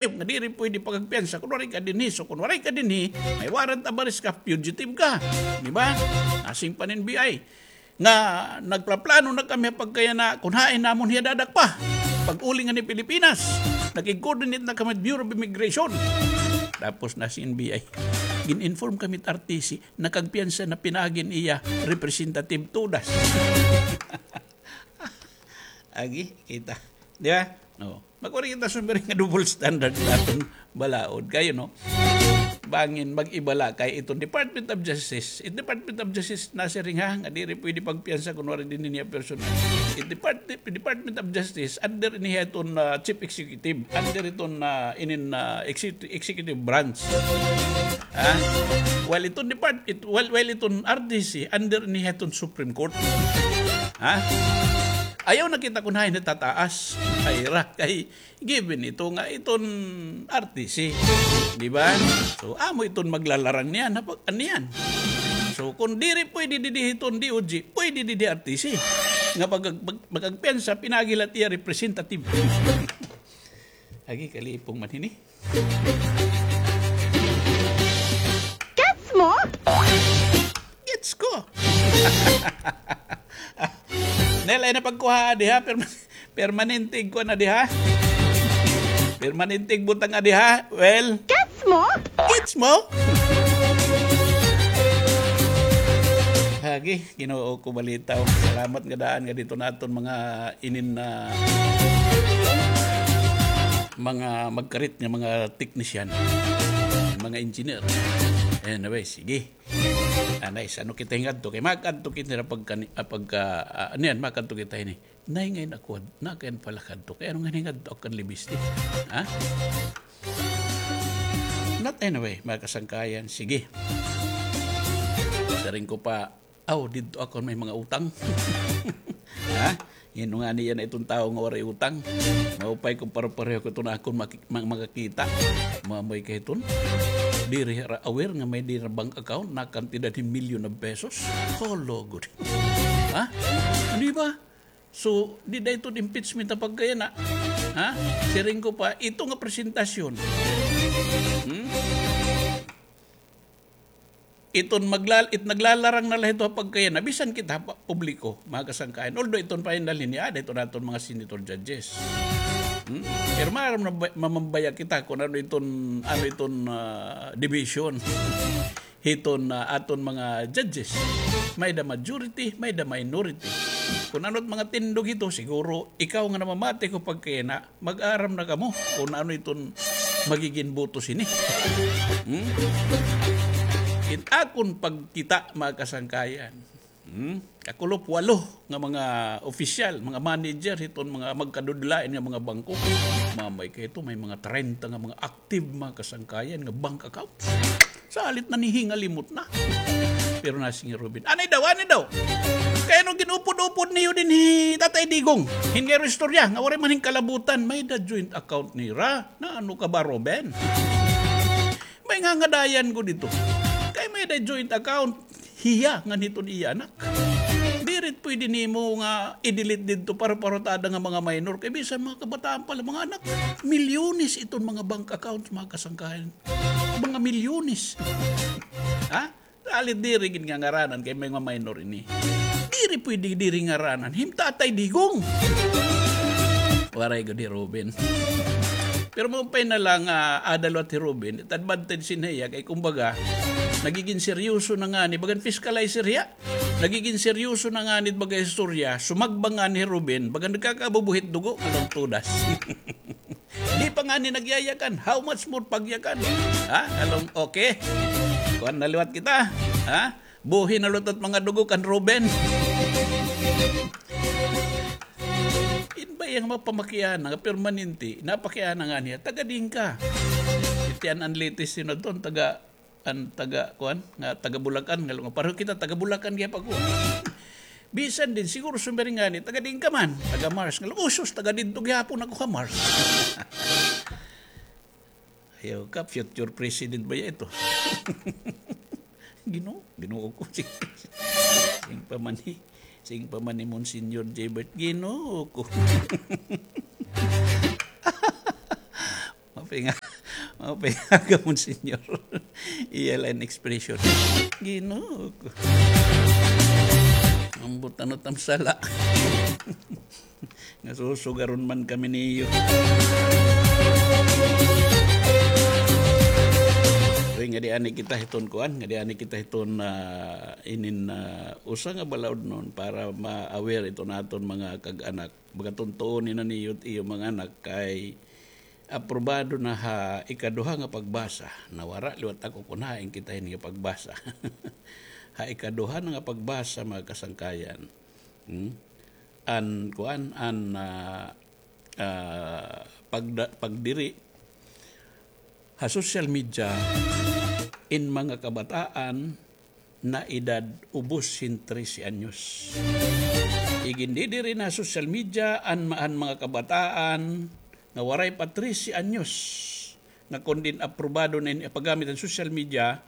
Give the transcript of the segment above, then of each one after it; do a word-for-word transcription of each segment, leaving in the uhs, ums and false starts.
nga diri pwede pakagpiyansa kun waray ka dinhi. So, kun waray ka dinhi, may warrant of arrest ka, fugitive ka. Di ba? Asing pa hin N B I nga nagplaplano na kami pagkayana kun hain namon hiya dadakpa. Pag-uli ngani Pilipinas, nakig-coordinate na kami with Bureau of Immigration. Tapos na si N B I. Gin-inform kami it R T C, nakagpiyansa na pinaagi an iya representative, tudas. Agi, kita. Di ba? Oo. Magwari kita sumiring nga double standard sa aton balaod. Kayo, no? Bangin mag-iba la kay iton Department of Justice. It Department of Justice nasiring ha, nga diri pwede pagpiyansa kun waray dinhi niya personal. It Depart-, Department of Justice, under ini hiton, ah, Chief Executive. Under iton, ah, inin, ah, executive, executive branch. Ha? While iton depart-, it-, while, while iton R T C, under ini hiton Supreme Court. Ha? Ayaw na kita kun hain natataas. Kay ra, kay given ito nga iton R T C. Di ba? So, amo iton maglalarang niyan, ha, pag-, niyan. So, kun diri pwede didi hiton D O J, pwede didi R T C. Nga pag-, pag-, magagpiyansa, pinaagi la it iya representative. Agi, kalipong man hini. Gets mo? Gets ko. Nel, ay napagkuha, di ha? Perma-, permanente kuan na, di ha? Permanente butang, di ha? Well, gets mo? Gets mo? Agi, Ginoo ko, balitaw. Salamat nga daan nga dito naton mga inin na mga magkarit nga mga technician, mga engineer. Anyway, sige. Anay, sa ano kita hingadto? Kay makadto kita na pagka, ah, pagka, ah, ano yan, makadto kita ini. Nay, ngayon ako, na kayan pala kadto. Kay ano nga hingadto ako kan Libis, di? Ha? Not anyway, mga kasangkayan. Sige. Siring ko pa, aw, didto ako may mga utang. Ha? Ngano ngani yana iton tawo nga waray utang? Maupay kon parepareho ko iton akon maki-, ma-, makakita. Mamoy ka hiton. Diri ra aware nga may diri ra bank account na kantidad hin milyon of pesos. Hala, gud. Ha? Ano ba? So, dida iton impeachment na pagkayana. Ha? Siring ko pa, ito nga presentasyon. Hmm? Iton maglal-, it naglalarang na la hito ha pagkayana, bisan kita pa-, publiko, mga kasangkayan. Although iton final hini, ah, dito naton mga senator judges. Hmm? Pero maaram na ba-, mamambaya kita kung ano iton, ano iton, ah, division. Hiton, ah, aton mga judges. May the majority, may the minority. Kung ano't mga tindog hito, siguro ikaw nga namamati ko pagkayana, mag-aram na kamo kung ano iton magigin boto sini. Hmm? It akon pagkita, mga kasangkayan. Hmm? Kakulop walo nga mga opisyal, mga manager, hiton mga magkadudlain nga mga bangko. Mamay ka hito, may mga trenta nga mga active, mga kasangkayan, nga bank accounts. Salit na nihingalimot na. Pero nasiring hi Ruben, "Anay daw, anay daw. Kay ano ginupod-upod niyo dinhi Tatay Digong? Hin nga istorya, nga waray man hin kalabutan, may da joint account nira. Na ano ka ba, Ruben?" May ngangadayan ko dito. Kay may da joint account, hiya ngan hiton iya anak. Diri pwede nimo nga i-delete didto para parutada nga mga minor. Kay bisan mga kabataan pa la, mga anak, milyones iton mga bank accounts, mga kasangkayan. Mga milyones. Ha? Salit diri gid nga ngaranan kay may mga minor ini. Diri pwede diri ngaranan. Hin Tatay Digong. Waray gud hi Ruben. Pero maupay na la nga ada liwat hi Ruben, it advantage hin hiya kay kumbaga, nagigin seryoso na ngani, bagan fiscalizer hiya. Nagigin seryoso na ngani it baga istorya, sumagba ngani hi Ruben, bagan nagkakabubuhit dugo, along tudas. Di pa ngani nagyayakan, how much more pagyakan? Ha? Along, okay. Kuan na liwat kita. Ha? Buhi na liwat it mga dugo kan Ruben. Hin ba iya nga mapamakiana nga permanente, napakiana ngani hiya, taga diin ka? Iti an, an latest, sino ton, taga, an taga, kuan, nga taga Bulacan, nga lunga. Pareho kita, taga Bulacan, kaya pa ko. Bisan din, siguro sumiring ngani, taga diin ka man, taga Mars. Nga lunga, "Uy, sus, taga didto gihapon ako ha Mars." Ayaw ka, future president ba ya ito? Ginoo, Ginoo ko. Sing pa man ni, sing pa man ni Monsignor Jaybert, Ginoo ko. Ma-, Pinga, oh, pinga, Monsignor. Iya la in expression. Ginoo ko. Ambot ano tam sala. Nga susugaron man kami niyo. Uy, ngadi ani kita hiton kuan, ngadi ani kita hiton, ah, inin, ah, usa nga balaod non para ma-aware iton aton mga kag-anak. Baga tuntuon na niyo it iyo mga anak kay aprobado na ha ikaduha nga pagbasa. Nawara liwat ako kun hain kita hini nga pagbasa. Ha ikaduha na nga pagbasa, mga kasangkayan. Hmm? An, kuan, an, ah, ah, pagda-, pagdiri ha social media in mga kabataan na edad ubos hin trese anyos. Igindidiri na ha social media an ma-, an mga kabataan nga waray pa trese anyos, nga kon diin aprobado na ini paggamit han social media,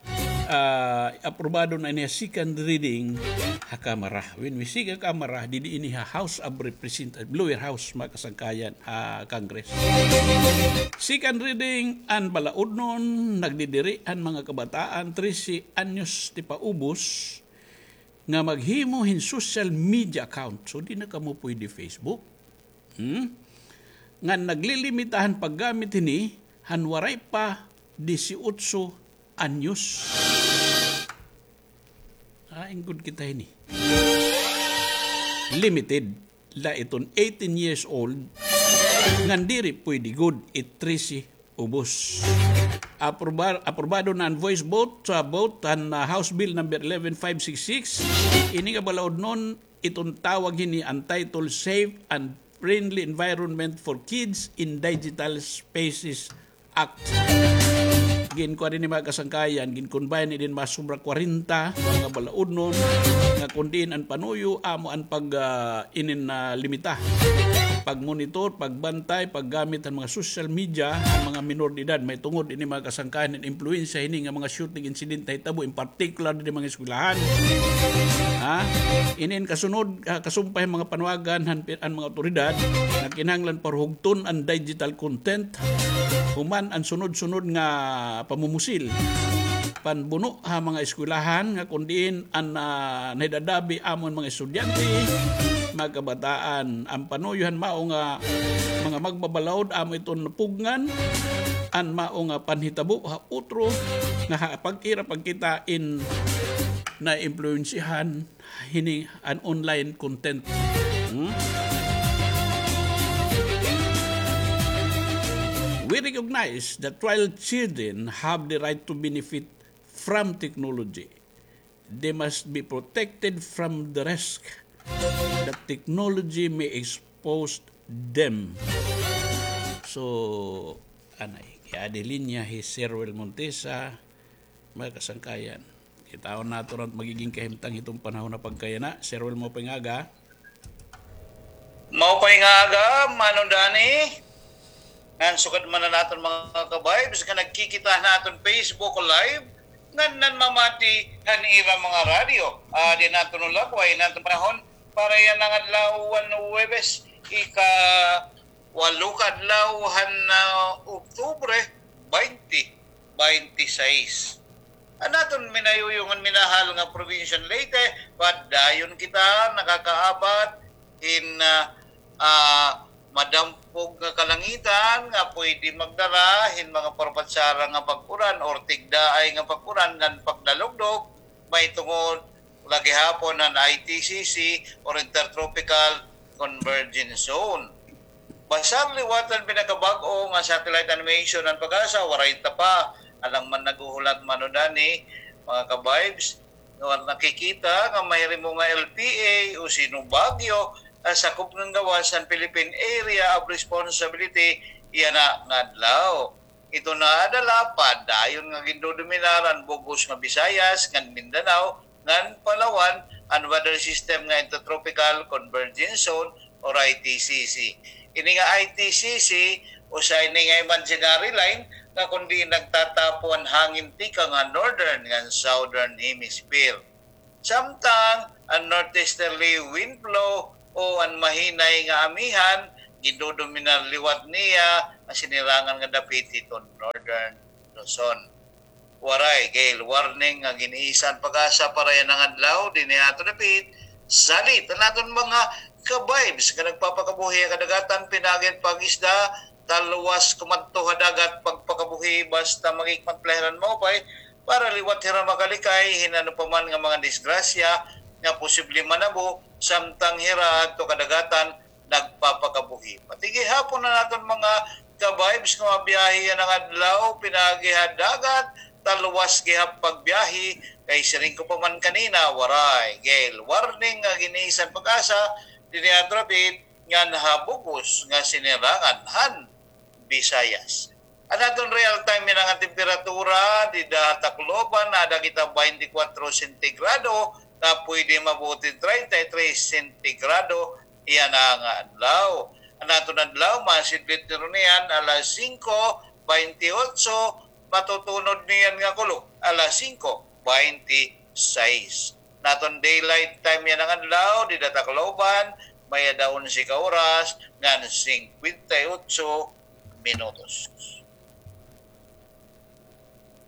ah, aprobado na ini ha second reading ha Kamara. When we say ha Kamara, didi ini ha House of Representatives, lower house, mga kasangkayan, ha Congress. Second reading, an balaod non, nagdidiri an mga kabataan, trese anyos ti paubos, nga maghimo hin social media account. So, di na kamo pwede Facebook. Hmm? Ngan naglilimita han paggamit hini han waray pa disiotso anyos. Ah, ingkod kita hini. Limited la iton eighteen years old, ngan diri pwede gud it trese ubos. Aprobar-, aprobado na an voice vote sa vote han, ah, House Bill number eleven five six six. Ini nga balaod non, iton tawag hini an title Safe and Friendly Environment for Kids in Digital Spaces Act. Ginkuan ini, mga kasangkayan, gin-combine ini hin mga sobra kwarenta nga mga balaod non, nga kon diin an panuyo amo an pag, ah, inin, ah, limita, pagmonitor, pagbantay, paggamit han mga social media han mga minor de edad. Mahitungod ini, mga kasangkayan, hin impluwensya hini nga mga shooting incident nahitabo, in particular didi mga eskwelahan. Ha? Inin kasunod, ah, kasumpay han mga panuwagan han pi-, an mga awtoridad nga kinahanglan parhugton an digital content human an sunod-sunod nga pamumusil, panbuno ha mga eskwelahan nga kon diin an, ah, nahidadabi amo an mga estudyante, mga kabataan. An panuyo han mao nga mga magbabalaod amo iton pugngan an mao nga panhitabo ha utro nga ha pag-ira pagkita in naimpluwensyahan hini an online content. Hmm? We recognize that while children have the right to benefit from technology, they must be protected from the risk that technology may expose them. So, anay, kay adi linya hi Sir Wel Montesa, mga kasangkayan. Kitaon naton an magiging kahimtang hiton panahon nga pagkayana. Sir Wel, maupay nga aga. Maupay nga aga, Mano Danny. Ngan sugad man an aton mga ka-vibes nga nagkikita han aton Facebook Live, ngan nanmamati han ira mga radyo. Ah, di naton ulakoy an aton panahon para yana nga adlaw, Huwebes, ika-walo ka adlaw han, ah, Oktubre, baynte baynte sais. An aton minayuyo ngan minahal nga probinsya han Leyte, padayon kita nakakaabat hin, ah, ah, madampog nga kalangitan nga pwede magdara hin mga parbatsara nga pag-uran or tigdaay nga pag-uran ngan pagdalugdog, mahitungod la gihapon an I T C C or Intertropical Convergence Zone. Basar liwat an pinakabag-o nga satellite animation han PAGASA, waray ta pa. Alang man naghuhulat, Mano Danny, mga ka-vibes, nga nakikita nga mahirimo nga L P A o Sino Baguio an sakop ngan gawas han Philippine Area of Responsibility yana nga adlaw. Ito na adala, padayon nga gindodominar an bug-os nga Visayas ngan Mindanao ngan Palawan an weather system nga Intertropical Convergence Zone or I T C C. Ini nga I T C C, usa ini nga imaginary line nga kon diin nagtatapo an hangin tikang ha northern ngan southern hemisphere. Samtang an northeasterly wind flow o an mahinay nga amihan gindodominar liwat niya an sinirangan nga dapit hiton Northern Luzon. Waray gale warning nga gin-iisan PAGASA para yana nga adlaw dinhi ha aton dapit. Salit an aton mga ka-vibes nga nagpapakabuhi ha kadagatan, pinaagi han pag-isda, talwas kumadto ha dagat, pagpakabuhi basta magikmat la hira hin maupay para liwat hira makalikay hin ano pa man nga mga disgrasya nga posible manabo samtang hira adto kadagatan nagpapakabuhi. Pati gihapon an aton mga ka-vibes nga mabiyahe yana nga adlaw, pinaagi ha dagat, talwas gihap pagbiyahe, kay siring ko pa man kanina, waray gale warning nga gin-iisan PAGASA dinhi ha aton dapit ngan ha bug-os nga sinirangan han Visayas. An aton real time yana nga temperatura dida ha Tacloban, aada kita twenty-four sentigrado, nga pwede maabot hin thirty-three sentigrado yana nga adlaw. An aton adlaw, masidlit niyan alas singko bente otso, matutunod niyan nga kulop alas singko bente sais. An aton daylight time yana nga adlaw dida ha Tacloban, may-ada onse ka oras ngan singkwenta y otso minutos.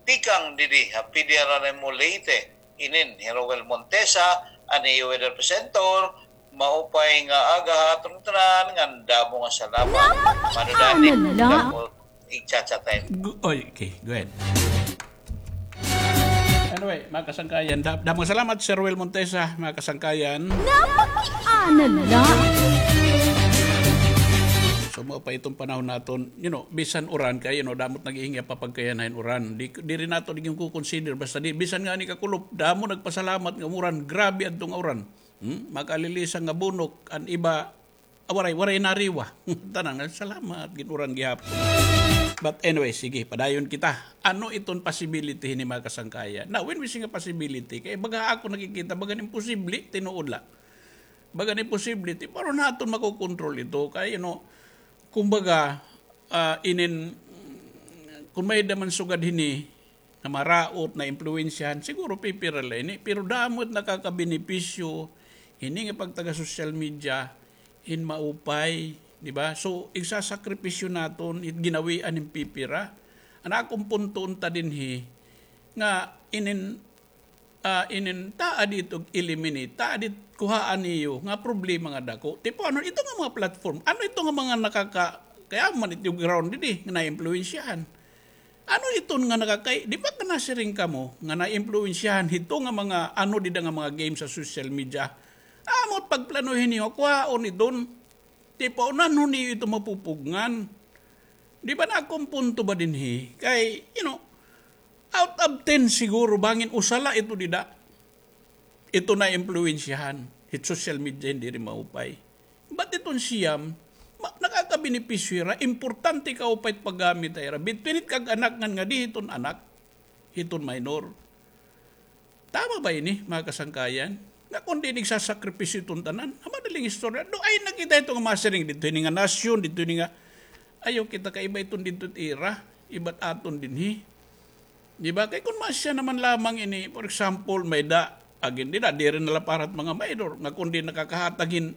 Tikang didi ha P D R R M O Leyte, inin hi Roel Montesa, an iyo weather presenter. Maupay nga aga ha aton tanan ngan damo nga salamat. Mano dani, damo igcha-chat time. Oy, okay, go ahead. Anyway, mga kasangkayan, da-, damo nga salamat, Sir Roel Montesa, mga kasangkayan. Napakiana la. So, mao pa iton panahon naton, you know, bisan uran kay, you know, damo it naghihingi pa pagkayan hin uran. Di, diri naton ginkukonsider, basta di, bisan ngani kakulop, damo nagpasalamat nga uran, grabe adto nga uran. Hmm? Makalilisang nga bunok, an iba, ah, waray, waray nariwa. Tanan nga, salamat, gin-uran gihapon. But anyway, sige, padayon kita. Ano iton possibility hini, mga kasangkayan? Now, when we say nga possibility, kay baga ako nakikita, baga imposible, tinuod la. Baga imposible, ti-, pero naton makokontrol ito. Kay, you know, kumbaga, ah, inin, kun may-ada man sugad hini, na maraot, naimpluwensyahan, siguro pipira la ini, pero damo it nakakabenepisyo hini nga pagtaga social media hin maupay, di ba? So, igsasakripisyo naton it ginawian hin pipira. An akon punto unta dinhi nga inin, ah, inin taad ito eliminate, taad it kuhaan niyo nga problema nga dako. Tipo, ano ito nga mga platform? Ano ito nga mga nakaka-, kay amo man ito ground didi nga naimpluwensyahan? Ano iton nga nakakay-, di ba ka nasiring kamo nga naimpluwensyahan hito nga mga ano dida nga mga games sa social media? Amo it pagplanuhin niyo, kuhaon iton. Ti paunanhon niyo ito mapupugngan. Di ba na akon punto ba dinhi? Kay, you know, out of ten siguro, bangin usa la ito dida. Ito naimpluwensyahan hit social media, hin diri maupay. But iton siyam, ma-, nakakabenepisyo hira, importante kaupay it paggamit ha ira. Between it kag-anak ngan ngadi hiton anak, hiton minor. Tama ba ini, mga kasangkayan? Nga kun di nagsasakripisyo iton tanan, ha madaling istorya, do ay nakita ito nga masiring didto hini nga nasyon, didto hini nga, ayaw kita kaiba iton didto it ira, iba it aton dinhi. Di ba? Kay kun masya naman lamang ini, for example, may-ada, again, dida, diri na la para it mga minor, nga kun di nakakahatag hin,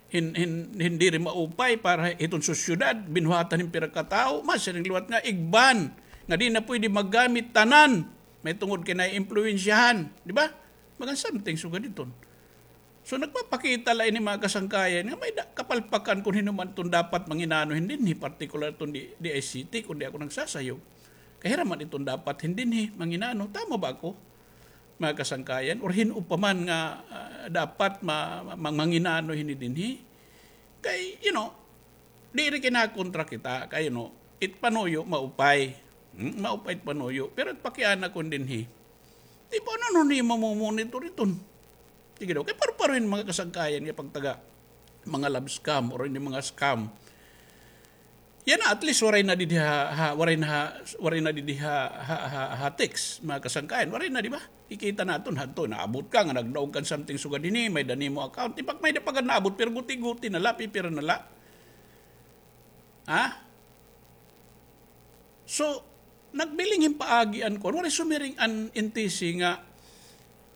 hin, hin, hin diri maupay para hiton sosyedad, binuhatan hin pira ka tawo, masiring liwat nga igban, nga di na pwede maggamit tanan, may tungod kay naiimpluwensyahan, di ba? Mga something sugad iton. So, nagpapakita la ini, mga kasangkayan, nga may-ada kapalpakan kun hin-o man iton dapat manginano hin dinhi, partikular iton di, D I C T, kun di ako nagsasayop. Kay hira man iton dapat hin dinhi manginano. Tama ba ako, mga kasangkayan? Or hin-o pa man nga, ah, dapat ma-, ma-, manginano hini dinhi? Kay, you know, diri kinakontra kita. Kay, you know, it panuyo maupay. Hmm? Maupay it panuyo. Pero it pakiana kun dinhi, di ba, ano, ano ni mamomonitor iton? Sige daw, kay pareho hin mga kasangkayan nga pagtaga mga love scam or ini mga scam. Yana, at least waray na didi ha, ha, waray na ha, waray na didi ha, ha, ha, ha text, mga kasangkayan. Waray na, di ba? Kikita naton hadto, naabot ka nga nagdaog kan something sugad hini, may-ada nimo account. Di ba, may-ada pa gad naabot, pero guti-guti na la, pipira na la. Ha? So, nagbiling hin paagi an kuan, waray sumiring an N T C nga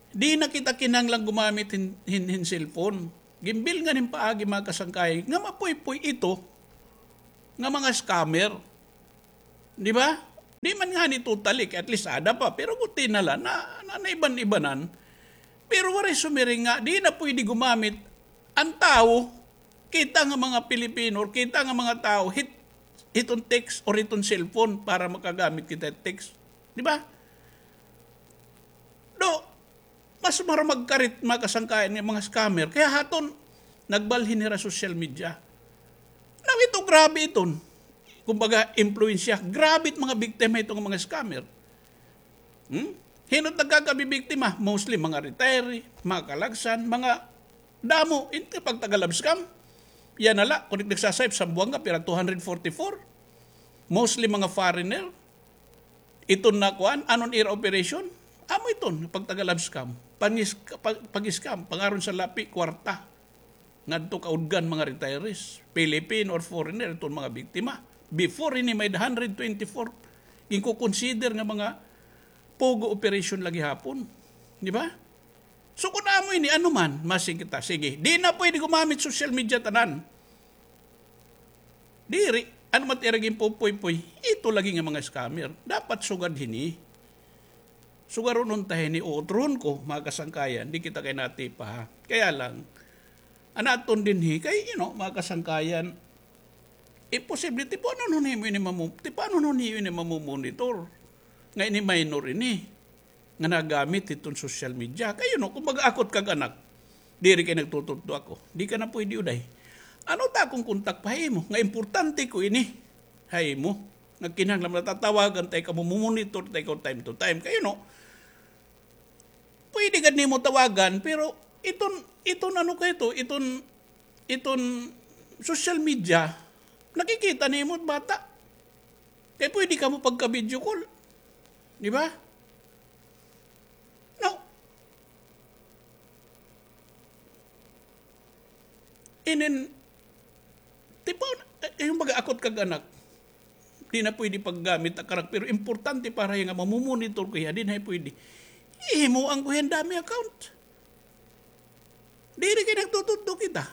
di na kita kinahanglan gumamit hin, hin, hin cellphone. Ginbilingan hin paagi, mga kasangkayan, nga mapuypoy ito nga mga scammer. Di ba? Di man ngani totally, kay at least ada pa, pero guti na la, na, na, naiban-ibanan. Pero waray sumiring nga, di na pwede gumamit an tawo, kita nga mga Pilipino, or kita nga mga tawo, hit, hiton text or hiton cellphone para makagamit kita text. Di ba? Do, mas maramag karit mga kasangkayan nga mga scammer. Kaya haton, nagbalhin hira social media. Now, ito, grabe iton. Kumbaga, impluwensya. Grabe it mga biktima ito nga mga scammer. Hmm? Hin-o it nagkakabibiktima? Mostly mga retiree, mga kalagsan, mga damo. Ito pag taga-love scam. Yana la, kon it nagsasayop, Zamboanga, pira, two hundred forty-four. Mostly mga foreigner. Iton na kuan, ano an ira operation? Amo iton, pag taga-love scam. Pangis-, pag, pag-scam, pangaron sa lapi, kwarta. Ngadto kaudgan mga retirees, Filipino or foreigner, iton mga biktima. Before ini may hundred twenty-four, ginko-consider nga mga pogo operation la gihapon. Di ba? So, kun amo ini, ano man, masing kita, sige. Di na pwede gumamit social media tanan. Diri, ano man it ira ginpupuy-puy, ito lagi nga mga scammer. Dapat sugad hini. Sugaron unta hini, uutrohon ko, mga kasangkayan, di kita kay natipa, ha. Kaya lang, an aton dinhi, kay, you know, mga kasangkayan, imposible, ti paano nun himo ini mamu-, ti paano nun himo ini mamumonitor? Nga ini minor ini. nga nagamit hiton social media. Kay, you know, kumbaga, ako it kag anak, diri kay nagtutudlo ako. Di ka na pwede, uday. Ano ta akon kontak pa ha imo? Nga importante ko ini ha imo. Nga kinahanglan natatawagan ta ikaw, mamumonitor ta ikaw time to time. Kay, you know, pwede gad nimo tawagan, pero iton, iton ano kay ito, iton, iton social media, nakikita nimo it bata. Kay pwede kamo pagka-video call. Di ba? Now, inin, tipo, eh, yung baga ako it kag anak, di na pwede paggamit ak anak, pero importante para hiya nga mamumonitor ko hiya, di na pwede. Hihimuan ko hiya hin dummy account. Diri kay nagtutudlo kita.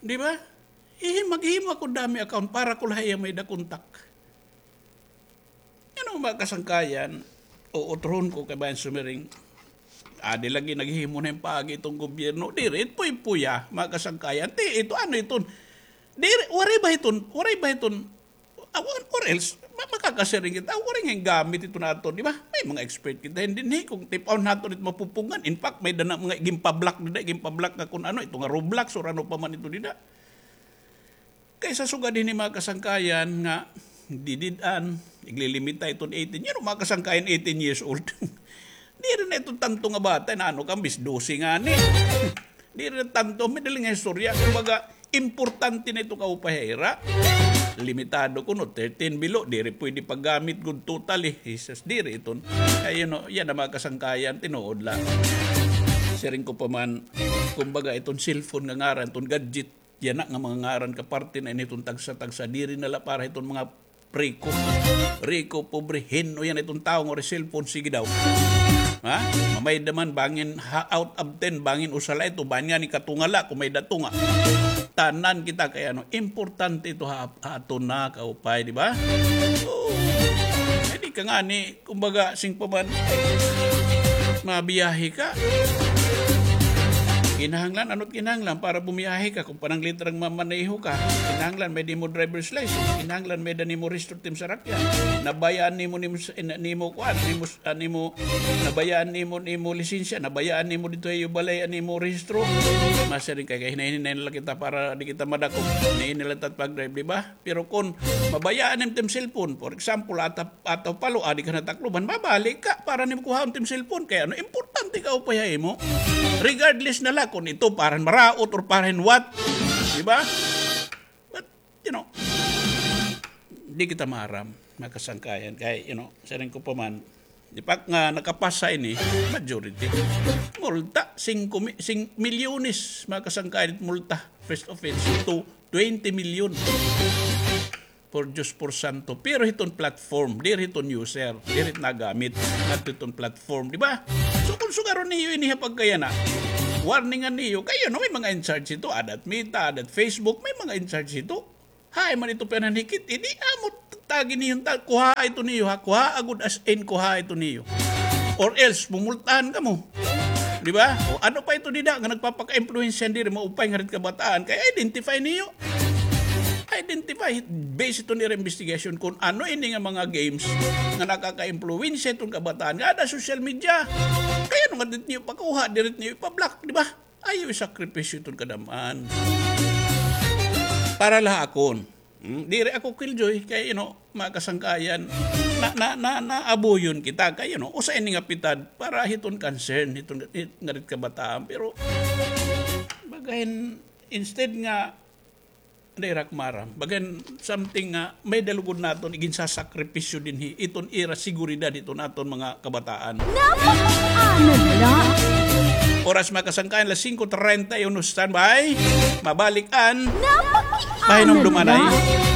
Di ba? Ihim-, maghimo ako dummy account para ko la hiya may-ada kontak. Ano, mga kasangkayan, uutrohon ko kay bayan sumiring. Adi lagi naghihimo na hin paagi iton gobyerno. Diri, it puy-puya, mga kasangkayan. Ti, ito, ano iton? Diri, waray ba iton? Waray ba iton? Ah, or, or else, ma-, makakasiring kita, ah, waray nga gamit ito naton, di ba? May mga expert kita, hindi, hindi, kung tip-on naton ito mapupungan. In fact, may-ada na mga ginpa-block dida, ginpa-block nga kung ano, ito nga Roblox or ano pa man ito dida. Kaysa sugad hini mga kasangkayan nga, didid-an, iglilimita iton eighteen, yan ang mga kasangkayan eighteen years old. Diri na ito tanto nga bata, na ano ka, bis dose ngani. Diri na tanto, may dali nga istorya. Kumbaga, importante na ito kaupay ha ira. Limitado kuno, thirteen below, diri pwede paggamit gud totally. Jesus, diri iton. Ay, you know, yan ang mga kasangkayan, tinuod la. Siring ko pa man, kumbaga, iton cellphone nga ngaran, iton gadget, yana nga mga ngaran, kaparte na ini iton tagsa-tagsa, diri na la para iton mga Rico. Rico, pobre, hin-o yana iton tawo nga waray cellphone, sige daw. Ha? Mamayda man, bangin ha, out of ten, bangin usa la ito, bangin ngani katunga la, kon may-ada tunga. Tanan kita kay ano, importante ito ha, ha aton nga kaupay, di ba? Oo. Ay, di ka ngani, kumbaga, sing pa man, mabiyahe ka. Kinahanglan, ano it kinahanglan para bumiyahe ka? Kung pananglitrang mamaneho ka, kinahanglan may-ada nimo driver's license, kinahanglan may-ada nimo rehistro tim sarakyan. Nabayaan nimo, nimo, nimo kuan, nimo, ah, nimo, nabayaan nimo, nimo lisensya, nabayaan nimo didto ha iyo balay an imo rehistro. Masiring ka kay hinay-hinay na la kita para di kita madakop. Hinay-hinay la ta pag-drive, di ba? Pero kon mabayaan nimo tim cellphone, for example, ata, ata palo, adi ka na Tacloban, mabalik ka para nimo kuhaon tim cellphone. Kay ano, importante kaupay ha imo. Regardless na la kon ito para hin maraot or para hin what. Di ba? But, you know, di kita maaram, mga kasangkayan. Kay, you know, siring ko pa man, di pa nga nakapasa ini, majority. Multa, singko mi-, sing-, milyones, mga kasangkayan, multa, first offense, to twenty million. Por Diyos, por santo. Pero hiton platform, diri hiton user, diri hit nagamit, ngadto hiton platform, di ba? So, kon sugaron niyo ini ha pagkayana, warningan niyo, kay, you know, may mga in charge hito, ada it Meta, ada it Facebook, may mga in charge hito. Hain man ito pinanhikit, eh, di amo tagi niyo, ta-, kuhaa ito niyo, ha? Kuhaa agud as in, kuhaa ito niyo. Or else, mumultahan kamo. Di ba? O ano pa ito dida nga nagpapaka-impluwensya diri, maupay nga rit kabataan, kay identify niyo. Identify, based ito nira investigation kung ano ini nga mga games nga nakaka-impluwensya iton kabataan, nga ada social media. Kay ano nga diri niyo pakuha, diri niyo ipa-block, di ba? Ayaw isakripisyo iton kadam-an. Para la ha akon. Hmm, diri ako killjoy kay, you know, mga kasangkayan, na, na, na, naabuyon kita kay, you know, usa ini nga pitad para hiton concern, hiton, hit, nga rit kabataan. Pero, bagahin, instead nga, diri ak maaram, bagahin something nga may-ada lugod naton iginsasakripisyo dinhi, iton ira seguridad hiton aton mga kabataan. Napakiana la. Oras, mga kasangkayan, las singko treinta y uno, standby. Mabalik an Napakiana Pahinumdumanay. La.